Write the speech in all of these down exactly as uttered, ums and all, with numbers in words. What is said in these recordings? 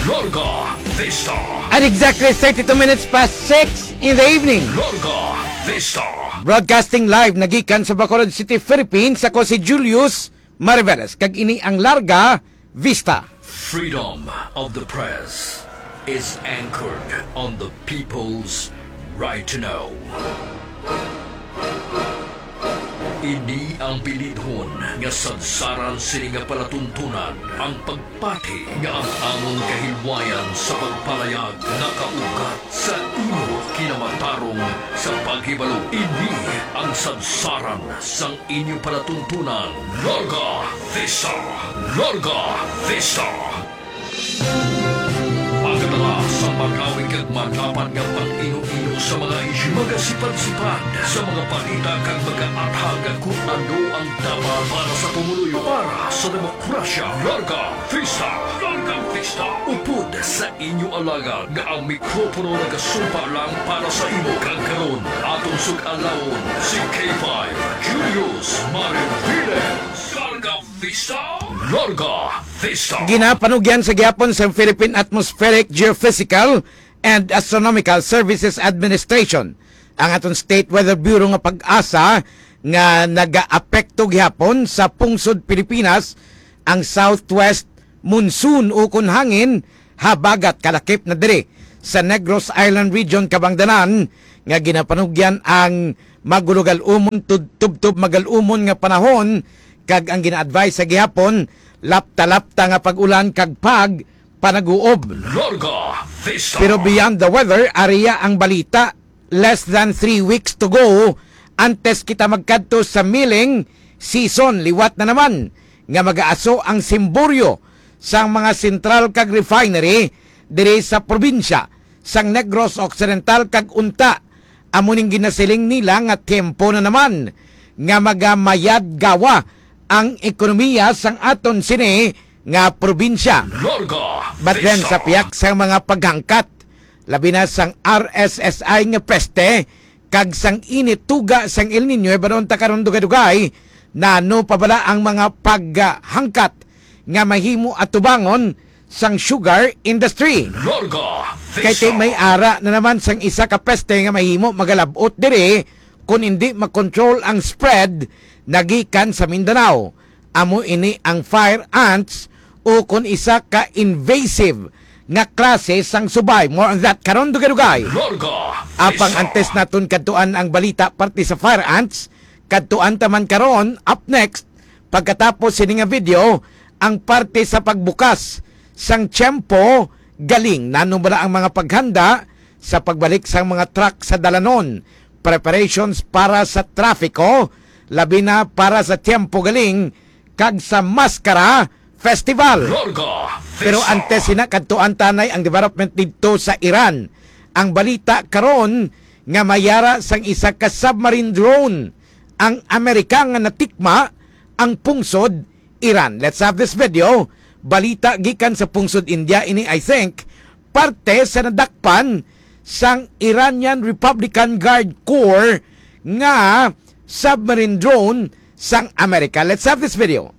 Larga Vista. At exactly thirty-two minutes past six in the evening. Larga Vista. Broadcasting live nagikan sa Bacolod City, Philippines, ako si Julius Mariveles, kag ini ang Larga Vista. Freedom of the press is anchored on the people's right to know. Ini ang bilidhon nga sadsaran sini nga palatuntunan, ang pagpati nga ang amon kahilwayan sa pagpalayag nakaugat sa imo kinamatarong sa paghibalo. Ini ang sadsaran sang inyo palatuntunan. Larga Vista! Larga Vista! Pagkatala sa magawid kag madapat nga pag-ino-ino sa mga isyu, magasipad-sipad sa mga balita kag mag-aathag kon ano ang dapat para sa pumuluyo, para sa demokrasya. Larga Vista! Larga Vista! Upod sa inyo alagad nga ang mikropono nagasumpa lang para sa imo, kag karon aton sug-alawon si K five Julius Mariviles. Larga Vista! Larga Vista! Ginapanugyan sa gihapon sa Philippine Atmospheric, Geophysical, and Astronomical Services Administration ang aton State Weather Bureau nga PAGASA nga nagaapekto gihapon sa pungsod Pilipinas ang southwest monsoon ukon hangin habagat kalakip na diri sa Negros Island Region, kabangdanan nga ginapanugyan ang magulogal-umon tud-, tubtob magal-umon nga panahon kag ang gina-advise sa gihapon lapta-lapta nga pag-ulan kag pag panag-uob. Larga Vista. Pero beyond the weather, area ang balita, less than three weeks to go antes kita magkadto sa milling season. Liwat na naman nga mag-aaso ang simboryo sang mga sentral kag refinery diri sa probinsya sang Negros Occidental, kag unta amo ning ginasiling nila nga tiyempo na naman nga magamayad gawa ang ekonomiya sang aton sini nga probinsya. Larga But then, Vista. Sa pihak sang mga paghangkat, labi na sang R S S I nga peste kag sang init tuga sang El Niño, hibaluon ta karon dugay-dugay nano pa bala ang mga paghangkat nga mahimo atubangon sang sugar industry. Larga Kay Vista. May ara na naman sang isa ka peste nga mahimo magalab-ot diri kon indi makontrol ang spread nagikan sa Mindanao. Amo ini ang fire ants, o kon isa ka invasive nga klase sang subay. More on that karon dugay-dugay. Larga Apang Vista. Antes naton kadtuan ang balita parte sa fire ants, kadtuan ta man karon, up next, pagkatapos sini nga video, ang parte sa pagbukas sang tiyempo galing. Nano bala ang mga paghanda sa pagbalik sang mga truck sa dalanon, preparations para sa trafiko, labi na para sa tiyempo galing kag sa Maskara Festival. Larga Pero Vista. Antes sina, kadtuan ta anay ang development didto sa Iran. Ang balita karon nga may ara sang isa ka submarine drone ang Amerika nga natikma ang pungsod Iran. Let's have this video. Balita gikan sa pungsod India ini, I think, parte sa nadakpan sang Iranian Republican Guard Corps nga submarine drone sang Amerika. Let's have this video.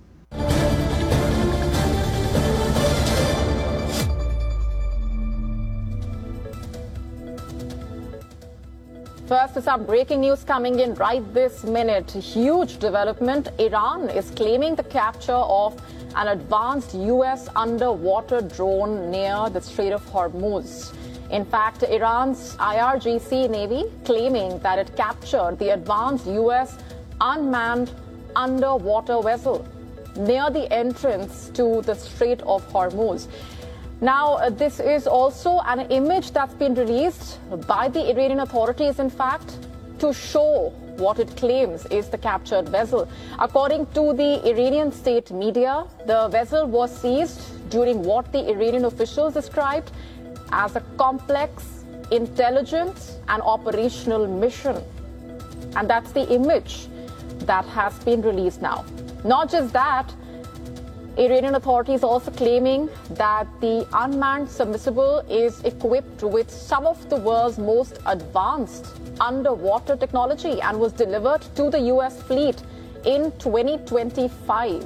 First, some breaking news coming in right this minute. Huge development. Iran is claiming the capture of an advanced U S underwater drone near the Strait of Hormuz. In fact, Iran's I R G C Navy claiming that it captured the advanced U S unmanned underwater vessel near the entrance to the Strait of Hormuz. Now, uh, this is also an image that's been released by the Iranian authorities, in fact, to show what it claims is the captured vessel. According to the Iranian state media, the vessel was seized during what the Iranian officials described as a complex intelligence and operational mission. And that's the image that has been released now. Not just that, Iranian authorities also claiming that the unmanned submersible is equipped with some of the world's most advanced underwater technology and was delivered to the U S fleet in twenty twenty-five.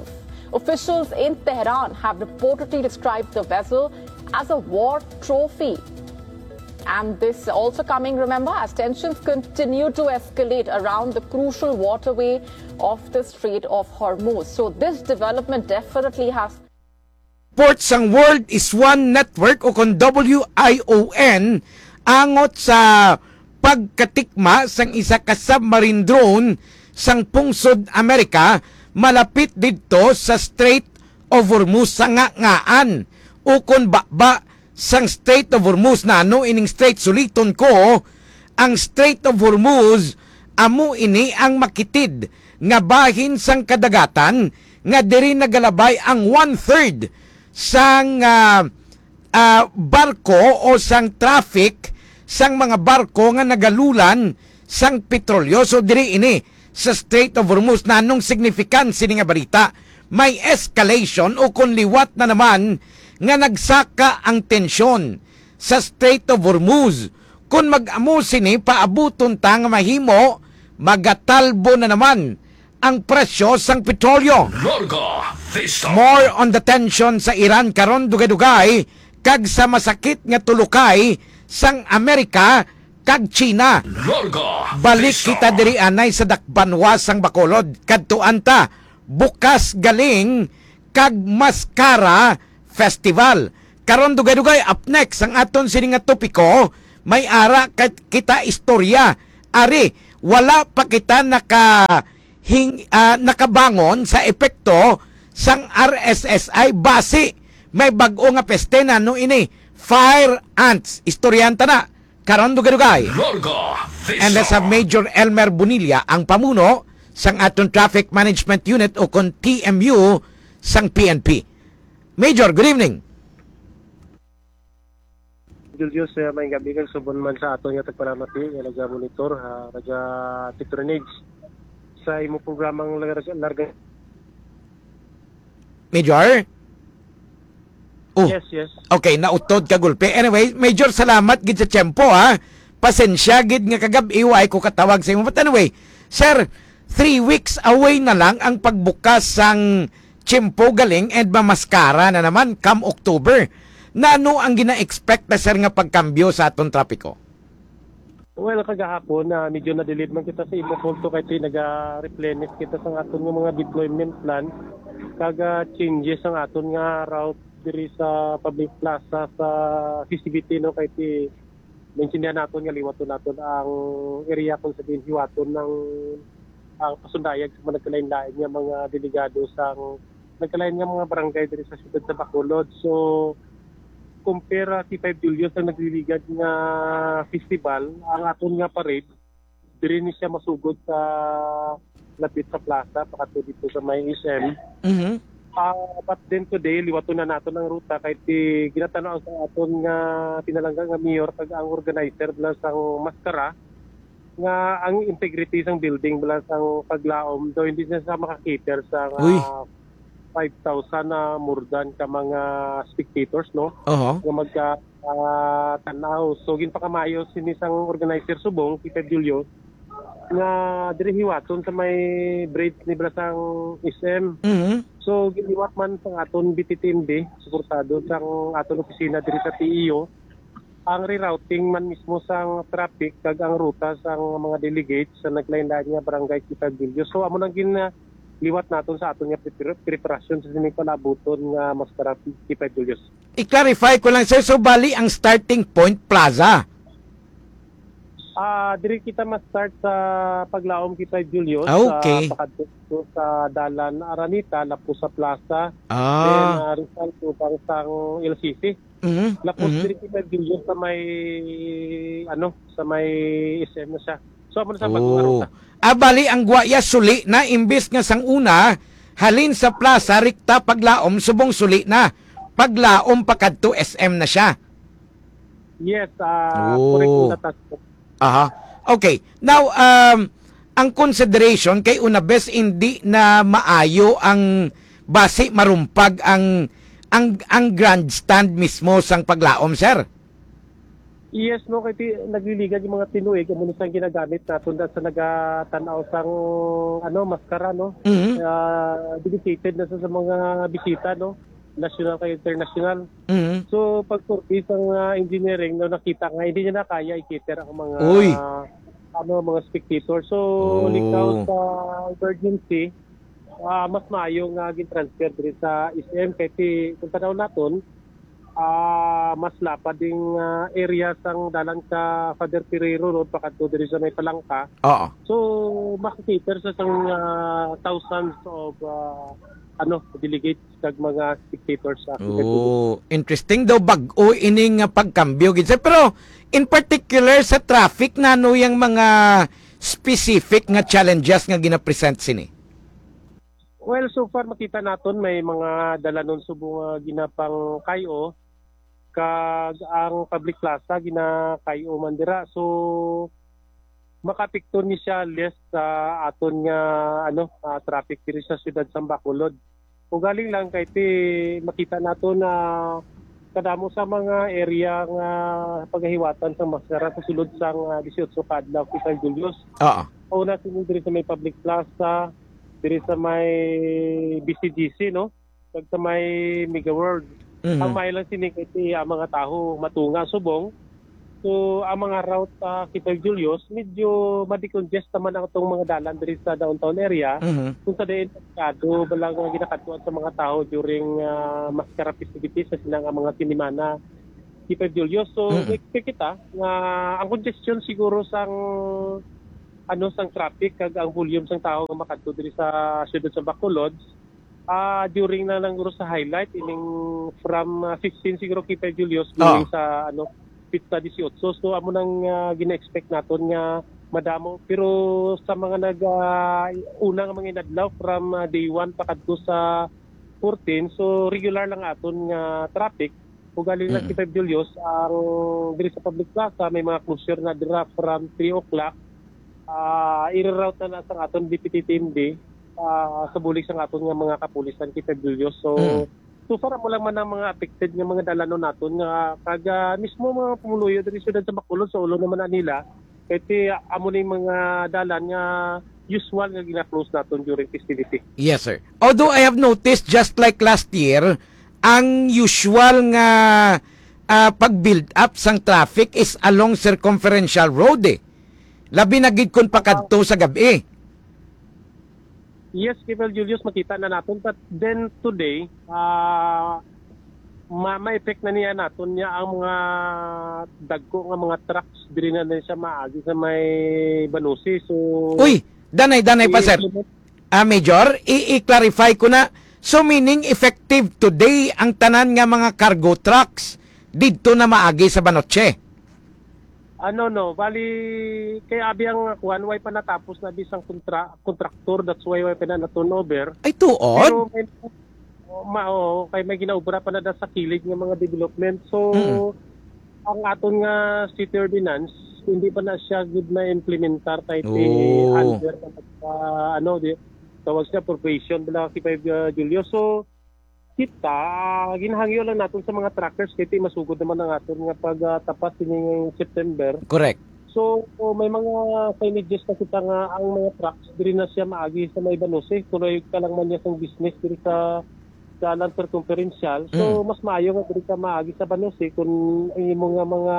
Officials in Tehran have reportedly described the vessel as a war trophy. And this also coming, remember, as tensions continue to escalate around the crucial waterway of the Strait of Hormuz. So this development definitely has Report sang World is One Network o kon W I O N angot sa pagkatikma sang isa ka submarine drone sang pungsod Amerika malapit didto sa Strait of Hormuz sa ngangaan ukon baba sang Strait of Hormuz. Nano ining strait? Suliton ko, ang Strait of Hormuz amo ini ang makitid nga bahin sang kadagatan nga diri nagalabay ang one-third sang, ah, ah, barko o sang traffic sang mga barko nga nagalulan sang petrolyo. So, diri ini sa Strait of Hormuz. Nanong significance sini nga balita? May escalation o kon liwat na naman nga nagsaka ang tensyon sa Strait of Hormuz. Kon mag-amo sini, paabuton ta nga mahimo magatalbo na naman ang presyo sang petrolyo. Larga Vista. More on the tension sa Iran karon, dugay-dugay, kag sa masakit nga tulukay sang Amerika kag China. Larga Balik Vista. Kita diri anay sa dakbanwa sang Bacolod. Kadtuan ta, Bukas Galing kag Maskara Festival. Karon, dugay-dugay, up next ang aton sini nga topiko, may ara ka-, kita istorya. Ari, wala pa kita naka-, hing-, ah, nakabangon sa epekto sang R S S I basi may bag-o nga peste. Nano ini? Fire ants. Istoryahan ta na karon, dugay-dugay. Larga Vista. And that's a Major Elmer Bonilla, ang pamuno sang aton Traffic Management Unit o kon T M U sang P N P. Major, good evening. Julius, eh, may gabi kag subon man sa aton nga tagpalamati nga naga-monitor, ah, naga-patronage sa imo programang Larga, Larga. Major? Oh. Yes, yes. Okay, nautod ka gulpi. Anyway, Major, salamat gid sa tiyempo, ha. Pasensya gid nga kagab-i wa ko katawag sa imo. But anyway, sir, three weeks away na lang ang pagbukas sang Chimpo Galing and Mamaskara na naman come October. Nano ang gina-expect na, sir, nga pagkambyo sa aton trapiko? Well, kagahapon, ah, medyo na-delayed man kita sa imo punto kay ti-, naga-replenish kita sa aton nga mga deployment plan kag, ah, changes ang aton nga route diri sa public plaza sa festivity, no, kay ti-, naintindihan naton nga liwaton naton ang area kung sa diin hiwaton ng ang pasundayag sa mga nagkalain-lain nga mga delegado sa nagkalain nga mga barangay diri sa siyudad sa Bacolod. So, compare, ah, T five Julius ang nagliligad nga festival, ang aton nga parade, diri ni siya masugod sa lapit sa plaza, pakadto dito sa may S M. Mhm. Ah, but then today, liwaton na naton ang ruta kay ti-, ginatanaw sa aton nga pinalangga nga mayor kag ang organizer bala sang maskara nga ang integrity sang building bala sang paglaom daw hindi na sa makakater sa nga Uy. five thousand na more than ka mga spectators, no? Oho. Nga magka, ah, tanaw. So, ginpakamayo sini sang organizer subong, Tita Julio, nga diri hiwaton sa may bridge ni Blasang S M. Mhm. So, giliwat man sa aton B T T M D, suportado sang aton opisina diri sa T E O, ang rerouting man mismo sang traffic kag ang ruta sang mga delegates sa naglain-lain nga barangay Quinta Julius. So, amo nang gin-, ah, liwat naton sa aton nga prepar-, preparasyon sa sining palabuton nga mas traffic Quinta Julius. I-clarify ko lang, sir. So, bali, ang starting point, plaza? Ah, diri kita ma-start sa paglaom Quinta Julius, Ah, okay. sa pakadto sa Dalan Araneta, lapos sa plaza. Ah. Then, ah, Rizal, tubang sang L C C. Mhm, Lapos mhm. diri kita Julius sa may, ano, sa may S M na siya. So, amo na sa Oh. bagong ruta. Ah, bali, ang Guaya suli na, imbis nga sang una, halin sa plaza, rikta paglaom, subong suli na. Paglaom pa kadto S M na siya. Yes, ah, Oh. correct yung datas. Aha. Okay. Now, um, ang consideration kay una bes hindi na maayo ang basi marumpag ang, ang, ang grandstand mismo sang paglaom, sir? Yes, no, kay ti-, nagliligad yung mga tinuig, amo ni sang ginagamit naton da sa nagatan-aw sang, ano, maskara, no? Mhm. Ah, dedicated na sa, sa mga bisita, no? national kag international. Mhm. So, pag-survey sang, ah, engineering, no, nakita nga hindi niya na kaya i-cater ang mga, Uy. ano, mga spectator. So, Oh. likaw sa emergency, ah, mas maayo nga gin-transfer diri sa S M kay ti-, kung tanaw naton, ah, mas lapad ding, ah, area sang dalan ka Father Ferrero Road pakadto diri sa may Palangka. Oo. So, makakater sa sang, ah, thousands of, ah, ano, delegates kag mga spectators sa Oh, interesting daw, bag-o ining, ah, pagkambyo gid, sir. Pero in particular sa traffic, nano yang mga specific nga challenges nga ginapresent sini? Well, so far makita naton may mga dalanon subong nga ginapangkay-o, kag ang public plaza ginakay-o man dira. So, makaapekto ni siya less sa aton nga, ano, ah, traffic diri sa siyudad sang Bacolod. Ugaling lang kay ti makita nato na kadamo sa mga area nga pagahiwatan sang maskara sa sulod sang, ah, dieciocho ka adlaw, Quezon Julius. Oo. Una sini diri sa may public plaza, diri sa may B C G C, no? Kag sa may Mega World. Mhm. Ang maayo lang sini kay ti ang mga tawo matunga subong. So, ang mga route, ah, Quinta Julius, medyo ma-decongest naman ang atong mga dalan diri sa downtown area. Mhm. Kung sa diin, masyado ba lang ang ginakadtuan sa mga tawo during, ah, maskara festivities sa sina nga mga sinimana, Quinta Julius. So, Mm. expect kita nga ang congestion siguro sang, ano, sang traffic kag ang volume sang tawo nga makadto diri sa siyudad sa Bacolod, ah, during na lang guro sa highlight, ining from, ah, fifteen siguro, Quinta Julius, Ah. going sa, ano, Pista dieciocho. So, amo nang, ah, gina-expect naton nga madamo. Pero sa mga nag, ah, una nga mga inadlaw, from, ah, day one pa kadto sa fourteen, so regular lang aton nga traffic. Ugaling lang Mm. Quinta Julius, ang diri sa public plaza, may mga closure na dira from three o'clock. Ah, i-reroute na na sa aton D P T T M D, ah, sa bulig sa aton nga mga kapulisan, Quinta Julius. So, Mm. so far, amo lang man ang mga affected nga mga dalanon naton nga kag, ah, mismo mga pumuluyo diri sa siyudad sa Bacolod, sa ulo naman na nila, kay ti, amo ni mga dalan nga usual nga gina-close naton during festivity. Yes, sir. Although I have noticed, just like last year, ang usual nga, ah, pag-build up sang traffic is along Circumferential Road, eh. Labi na gid kun pakadto sa gab-i. Yes, Kevin Julius, makita na naton. But then today, ah, ma-, ma-effect na niya naton niya ang mga dagko nga mga trucks diri na, na siya maagi sa may Banusi. So, Uy, danay, danay pa, sir. i-implement Ah, Major, i-, i-clarify ko na. So, meaning effective today ang tanan nga mga cargo trucks didto na maagi sa Banoche? Ano, no, bali, kay abi ang kuwan, way pa natapos na bisang kontra-, kontraktor, that's why way pa na na-turnover. Ay, tuod? Pero may, ma-, oo, kay may ginaobra pa na da sa kilid nga mga development. So, Mm. ang aton nga city ordinance, hindi pa na siya gid na-implementar kay ti Oh. under na nagpa-, ano, di, tawag siya, probation bala si Five, uh, Julio. So, kita, ah, ginahangyo lang naton sa mga truckers kay ti masugod naman ang aton nga pag, ah, tapas sining September. Correct. So, may mga signages na kita nga ang mga trucks diri na siya maagi sa may Banusi. Tuloy ka lang man niya sang business diri sa, sa Land Circumferential. So, Mm. mas maayo nga diri ka maagi sa Banusi kung ang imo nga mga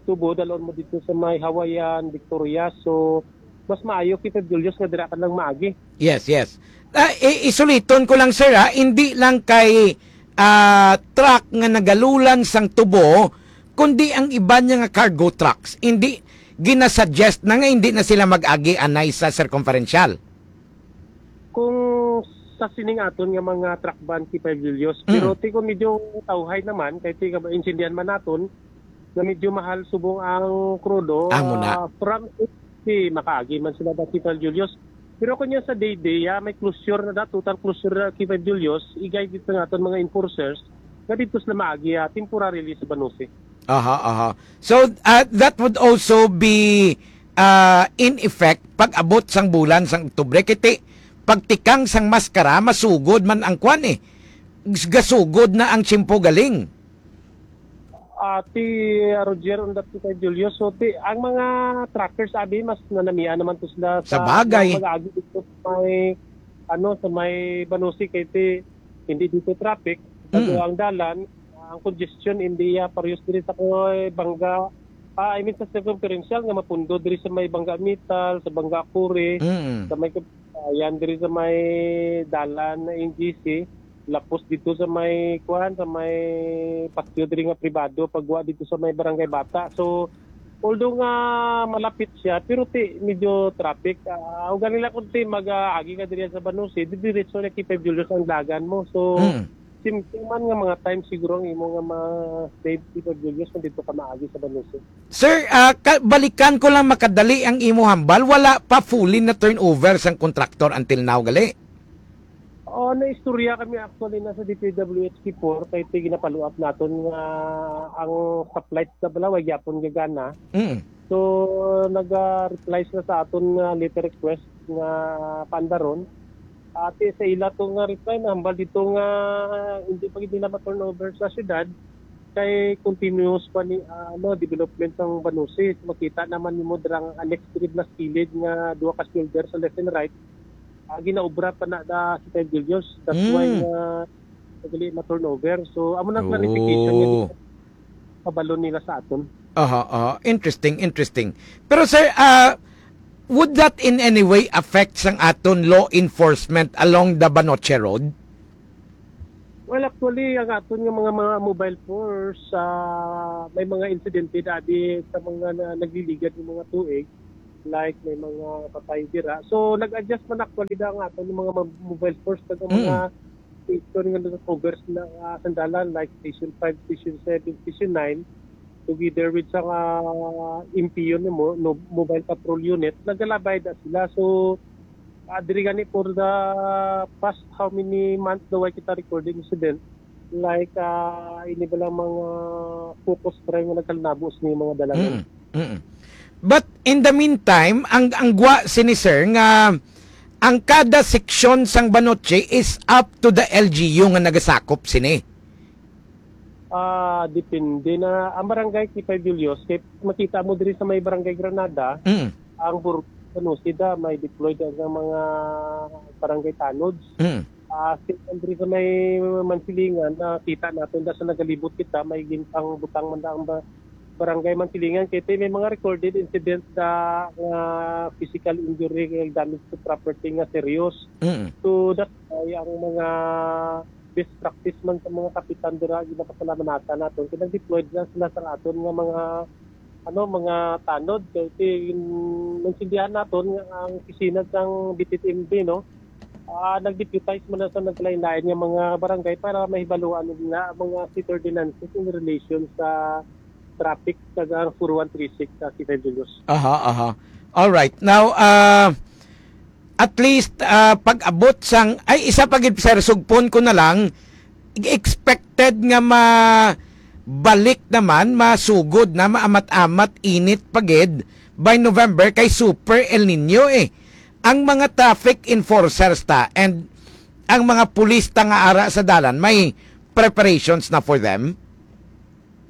tubo, dalon mo dito sa may Hawaiian, Victoria. So, mas maayo kita, Julius, nga dira ka lang maagi. Yes, yes. Ah, i-, isuliton ko lang, sir, ha? Hindi lang kay, ah, truck nga nagalulan sang tubo, kundi ang iban niya nga cargo trucks. Hindi, ginasuggest na nga hindi na sila mag-agi anay sa Circumferential. Kung sa sining aton nga mga truck ban, Kipay Julius, Mm. pero ti ko medyo tawhay naman, kay ti ka maintindihan man naton, nga medyo mahal subong ang krudo, Amo na. ah, from si makaagi man sila dati, Kipay Julius. Pero kung yan sa day-day, ah, may closure na da, total closure na, Kipay Julius, igay dito nga aton mga enforcers, nga dito sila maagi, ah, temporarily sa Banusi. Aha, aha. So, ah, that would also be, ah, in effect pag-abot sang bulan sang Oktubre, kay ti pagtikang sang maskara, masugod man ang kwan, eh. Gasugod na ang tiyempo galing. Ah, ti Roger, undat ti kay Julio. So, ti, ang mga truckers, abi, mas nanamian naman to sila Sa sa bagay. Mag-agi dito sa may, ano, sa may Banusi, kay ti, hindi dito traffic. Kag Mm. ang dalan, ang congestion, hindi iya parehas diri sa Kuway, Bangga. Ah, I mean, sa circumferential nga mapundo diri sa may Bangga Metal, sa Bangga Kuri, Mm. sa may Kab-, ah, yan diri sa may dalan na N G C, lapos dito sa may, kuwan, sa may patio diri nga pribado, pagwa dito sa may Barangay Bata. So, although nga malapit siya, pero ti, medyo traffic. Ah, o ganila kung ti, mag-aagi ka diri sa Banose, di diretso na K five Julius ang dagan mo. So, Mm. Simple man nga mga time siguro ang imo nga ma-save, Tito Julius, kung dito ka maagi sa Banose. Sir, ah, ka-, balikan ko lang makadali ang imo hambal. Wala pa fully na turnover sang kontraktor until now, gali? Oo, naistorya kami actually na sa D P W H before, kay ti ginapaluap naton nga ang supply sa Balaway gyapon gagana. Mm. So, nag-reply sila sa aton nga letter request nga paandaron. Ati sa ila to nga reply, nahambal dito nga hindi pa gid nila ma-turnover sa syudad kay continuous pa ni, ah, ano, development sang Banose. Makita naman nimo dirang annex gid na kilid nga duha ka shoulder sa left and right. Ah, ginaobra pa na da si Kyle Gillios. That's why Mm. nga dili ma-turnover. So, amo na ang clarification nga Oh. kabalo nila sa aton. Aha, aha. Interesting, interesting. Pero sir, ah, would that in any way affect sang aton law enforcement along the Banoche Road? Well, actually, ang aton nga mga, mga mobile force, ah, may mga insidente dati sa mga na, nagliligad ng mga tuig, like may mga patay dira. So, nag-adjust man actually na ang aton nga mga ma-, mobile force kag ang mga Mm. station nga nag-cover na, ah, sandalan, like Station five, Station seven, Station nine, together with sa, ah, M P U nimo, no, Mobile Patrol Unit, nagalabay na sila. So, ah, diri gani for the past how many months daw ay kita recording incident, like, ah, ini ba lang mga focus crime nga nagkalinabo sa mga dalangan? Mm, mm. But in the meantime, ang, ang gwa sini, sir, nga ang kada seksyon sang Banoche is up to the L G U nga nagasakop sini. Ah, depende na ang barangay K five Julius, kay makita mo diri sa may barangay Granada, Mm. ang bur-, ano, sida may deployed ang mga barangay tanods. Mm. Ah, si Andre sa may Mansilingan, nakita natin da sa nagalibot kita, may gintang butang man na ang ba-, barangay Mansilingan. Kaya may mga recorded incidents sa, ah, physical injury, damage to property nga serious. Mm. So, that's why ang mga best practice man sa mga kapitan dira, ginapasalamat naton. Kaya nag-deploy na sila sa aton nga mga, ano, mga tanod. Kaya ti-, naintindihan naton nga ang opisina sang B T T M B, no? Ah, nag-deputize man na sa naglain-lain nga mga barangay para mahibaluan nila ang mga city ordinances in relation sa traffic sa four one three six sa City of Julius. Aha, aha. All right. Now, ah, at least, ah, pag-abot sang, ay, isa pa gid, sir, sugpon ko na lang, expected nga ma-, balik naman, masugod na, maamat-amat, init pa gid by November kay super El Nino, eh. Ang mga traffic enforcers ta and ang mga pulis ta nga ara sa dalan, may preparations na for them?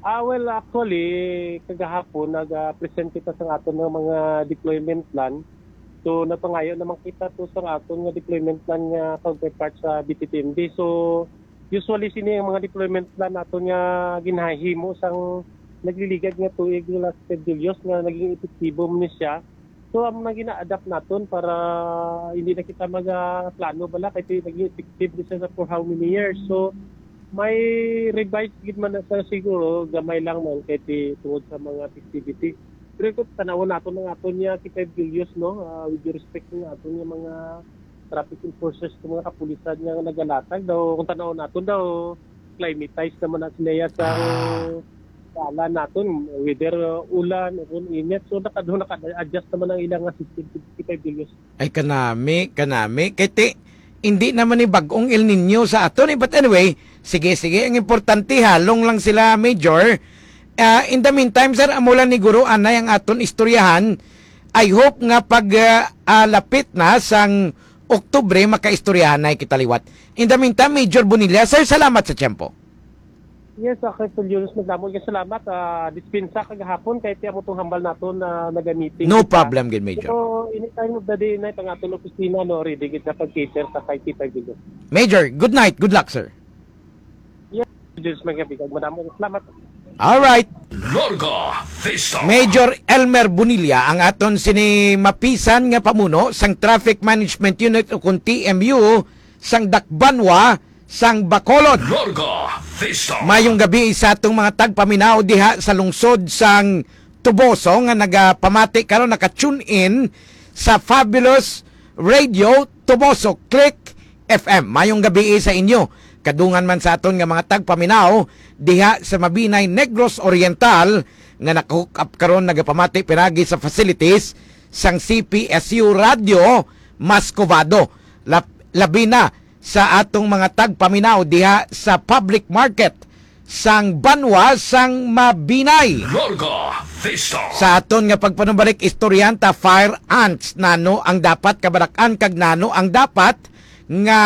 Ah, well, actually, kagahapon, nag-present kita sa aton nga mga deployment plan. So, napangayo naman kita to sa aton nga deployment plan nga counterpart sa B T T M D. So, usually, sini ang mga deployment plan naton nga ginahimo sang nagliligad nga tuig nga Last Julius nga naging epektibo man ni siya. So, amo na gina-adapt naton para hindi na kita magaplano bala kay ti-, naging effective ni siya sa for how many years. So, may revise gid man na sa siguro, gamay lang man kay ti-, tungod sa mga festivity. Pero kung tanawon naton ang aton niya K five Julius, no, ah, with due respect ng aton niya mga traffic enforcers, ng mga kapulisan nga nagalatag daw, kung tanawon naton daw, climatize naman na sila ya sa Ah. Kala naton, whether, uh, ulan o kung init, so naka-, doon naka-adjust naman ang ilang nga system, fifty-five degrees. Ay, kanami, kanami. Kay ti, hindi naman ni bag-ong El Nino sa aton, eh. But anyway, sige, sige. Ang importante, halong lang sila, Major. Ah, in the meantime, sir, amo lang ni Guro Anay ang aton istoryahan. I hope nga pag, ah, ah, lapit na sang Oktubre, makaistoryahan na kita liwat. In the meantime, Major Bonilla, sir, salamat sa tiyempo. Yes, okay, Sir Julius, madamo nga salamat. Ah, dispensa kagahapon kay ti amo tong hambal naton na naga-meeting No kita. Problem, good, Major. Pero any time of the day na itong aton opisina, no, ready kita pag-cater sa kay kita, Julius. Major, good night. Good luck, sir. Diyos magabi, kag madamo. Salamat. Alright. Larga Vista. Major Elmer Bonilla ang aton sini mapisan nga pamuno sang Traffic Management Unit o kung T M U sang Dakbanwa sang Bacolod. Larga Vista. Mayong gabi sa atong mga tagpaminaw diha sa lungsod sang Toboso nga nagapamati karon, naka-tune in sa Fabulous Radio Toboso. Click F M. Mayong gabi sa inyo. Kadungan man sa aton nga mga tagpaminaw diha sa Mabinay, Negros Oriental nga naka-hook up karon, nagapamati pinagi sa facilities sang C P S U Radio Mascovado. Lap- labi na sa atong mga tagpaminaw diha sa public market sang banwa sang Mabinay. Larga Vista. Sa aton nga pagpanubalik, istoryahan ta, fire ants, nano ang dapat kabarak-an kag nano ang dapat nga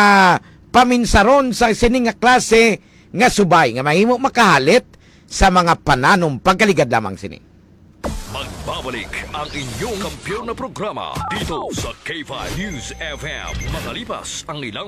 paminsaron sa sini nga klase nga subay nga mahimo makahalit sa mga pananom. Pagkaligad lamang sini. Magbabalik ang inyong kampiyon na programa dito sa K five News F M. Makalipas ang ilang